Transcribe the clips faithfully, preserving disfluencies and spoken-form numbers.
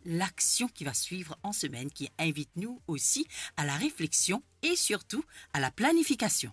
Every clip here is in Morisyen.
l'action qui va suivre en semaine, qui invite nous aussi à la réflexion et surtout à la planification.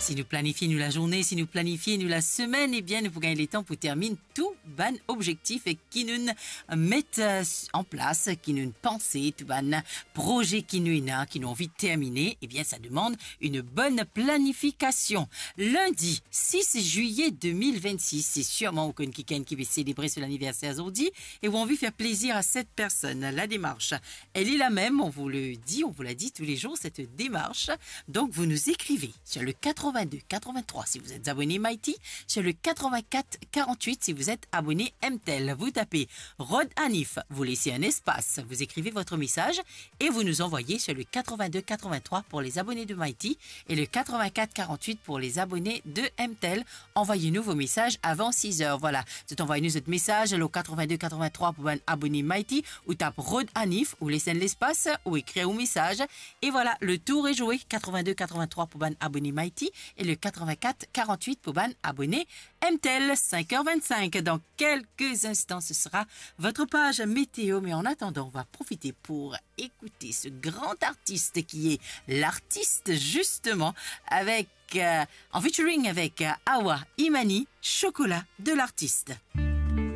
Si nou planifie nou lazourne, si nou planifie nou lasemenn, ebien, nou pou gagn letan pou terminn tou bann obzektif ki nou met, euh, an plas, ki nou panse, tou bann proze ki nou ena, ki nou anvi termine, ebien, sa demann une bonne planification. Lundi six juillet deux mille vingt-six, se sirman ou konn kikenn ki pe selebre so laniverser zordi e ou anvi fer plezir a cette personne. La démarche, elle est la même, on vous le dit, on vous l'a dit tous les jours, cette démarche. Donc, vous nous écrivez sur le quatre-vingt-deux quatre-vingt-trois si vous êtes abonné Mighty, sur le quatre-vingt-quatre quarante-huit si vous êtes abonné M T L. Vous tapez Rod Hanif, vous laissez un espace, vous écrivez votre message et vous nous envoyez sur le quatre-vingt-deux quatre-vingt-trois pour les abonnés de Mighty et le quatre-vingt-quatre quarante-huit pour les abonnés de M T L. Envoyez-nous vos messages avant six heures. Voilà, zot anvoy nou zot mesaz lor quatre-vingt-deux quatre-vingt-trois pou bann abone Mighty, ou tap Rod Hanif, ou les enn lespas, ou ekrir ou mesaz. E voilà, le tour est joué, quatre-vingt-deux quatre-vingt-trois pou bann abone Mighty e le quatre-vingt-quatre quarante-huit pou bann abone M T L. Cinq heures vingt-cinq, dans quelques instants, ce sera votre page météo. Mais en attendant, on va profiter pour écouter ce grand artiste qui est l'artiste, justement, avec, euh, en featuring avec, euh, Awa Imani, Chocolat de l'artiste.